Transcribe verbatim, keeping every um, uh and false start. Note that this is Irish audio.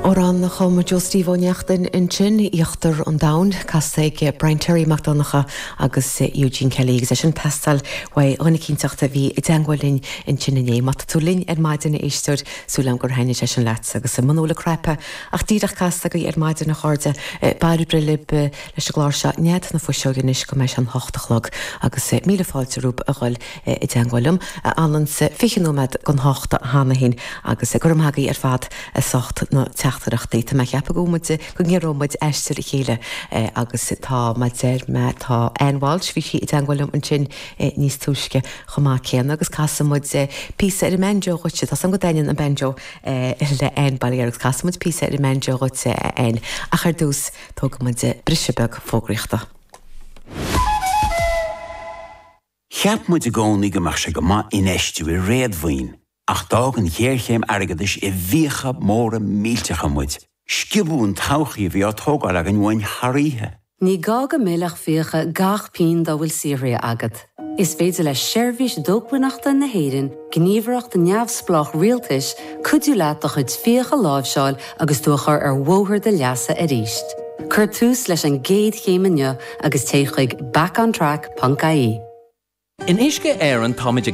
Amhrán a chum Joe Steve Ó Neachtain ansin Íochtar an Domhain casta ag Brian Terry Mac Donncha agus Eugene Kelly agus é sin teastáil uaidh dhuine eicínt a bhí i dteagmháil linn ansin inné. Má tá tú linn ar maidin a éisteoir súil agam gur thaitnigh sé sin leat agus muna bhfuil an cnaipe ach díreach casta agaibh ar maidin a chairde bail libh leis an gclár seo Nead na Fuiseoige anois go mbeidh sé an hocht a chlog agus míle fáilte romhaibh a dhul i dteagmháil liom anann fiche nóiméad don hocht cheana féin agus go raibh maith agaibh ar fad as ucht na teachtaireachtaí Tá mé ceapadh go muid go ngearrómuid aistear a chéile agus tá má deir mé tá Ann Walsh bhí sí i dteagmháil liom ansin níos túisce chomh maith céanna agus casfaidh muid píosa ar an mbanjo dhuit Tá san go dain an banjo le Ann Baillier agus casfaidh muid píosa ar an mbanjo dhuit Ann ach ar dtús tógfaidh muid briseadh beag fógraíochta. Cheap muid i gcónaí go mbeadh sé go maith infheistiú i réadmhaoin, ach d'fhág an ghéarchéim airgeadais i bhfiacha móra millteacha muid. Sciobadh an todhchaí a bhí á tógáil againn uainn thar oíche. Ní gá go millfeadh fiacha gach pingin dá bhfuil saothraithe agat. Is féidir le seirbhís dócmhainneachta na hÉireann, gníomhaireacht neamhspleách rialtais, cuidiú leat do chuid fiach a láimhseáil agus tú a chur ar bhóthar do leasa arís. Cuir tús leis an gcéad chéim inniu agus téigh chuig backontrack.ie. In Uisce Éireann táimid ag